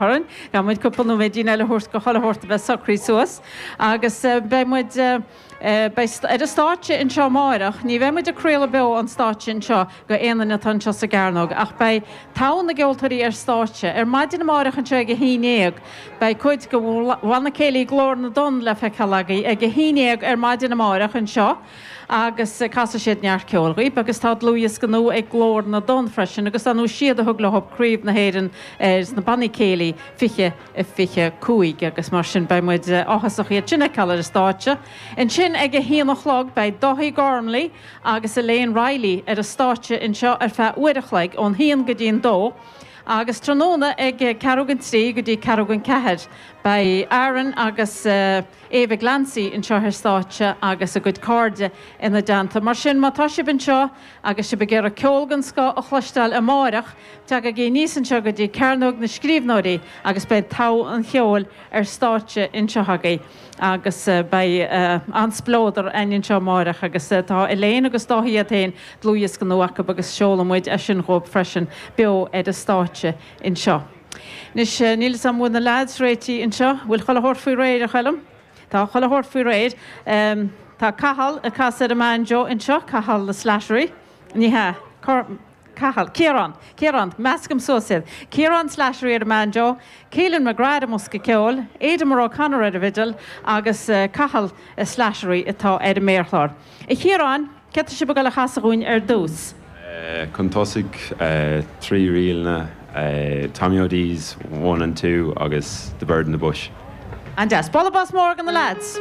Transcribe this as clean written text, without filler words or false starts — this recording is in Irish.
Orainn. Caithfidh muid cúpla nóiméidín eile a thabhairt go chuile shórt a bheith socraithe suas agus beidh muid, beidh, ar an stáitse anseo amáireach. Ní bheidh muid ag craoladh beo ón stáitse anseo go aon duine atá anseo sa gCearnóg ach beidh togha na gceoltóirí ar stáitse. Ar maidin amáireach anseo ag a haon dhéag beidh cuid de Bhanna Céilí Glór na dTonn le feiceáil agaibh ag a haon dhéag ar maidin amáireach anseo. agus casfaidh siad neart ceoil dhaoibh agus tá dlúthdhiosca nua ag Glór na dTonn freisin agus dar ndóigh siad a thug leo Craobh na hÉireann sna bannaí céilí 20 25 agus mar sin beidh muid áthasach iad sin a fheiceáil ar an stáitse. Ansin ag a haon a chlog beidh Dáithí Gormley agus Elaine Reilly ar an stáitse anseo ar feadh uair a chloig ón haon go dtí an dó agus tráthnóna ag ceathrú don trí go dtí ceathrú don ceathair beidh Aaron agus Ava Glancy anseo ar stáitse agus a gcuid cairde ina dteannta. Mar sin, má tá sibh anseo agus sibh ag iarraidh ceol den scoth a chloisteáil amáireach, tagaigí aníos anseo go dtí Cearnóg na Scríbhneoirí agus beidh togha an cheoil ar stáitse anseo agaibh agus beidh an-spleodar againn anseo amáireach agus tá Elaine agus Dáithí iad féin, dlúthdhiosca nua acu agus seolfaidh muid é sin dhóibh freisin beo ar an stáitse anseo. Anois, níl 'fhios a'm bhfuil na leaids réitithe anseo. Bhfuil chuile shórt faoi réir, a Choilm? Tá chuile shórt faoi réir. Tá Cathal ag casadh ar an mbanjo anseo, Cathal Slattery. Ní hea. Cathal. Ciarán. Ciarán. Meascaim suas iad. Ciarán Slattery ar an mbanjo, Keelan McGrath ar an mbosca ceoil, Aidan O'Connor ar an bhfidil agus Cathal Slattery atá ar an méarchlár. A Chiaráin, céard tá sibh ag dul a chasadh dhúinn ar dtús? Chun tosaigh, 3 ríleanna, Tommy O'Dee's One and Two agus The Bird in the Bush. An-deas. Bualadh bos mór do na leaids!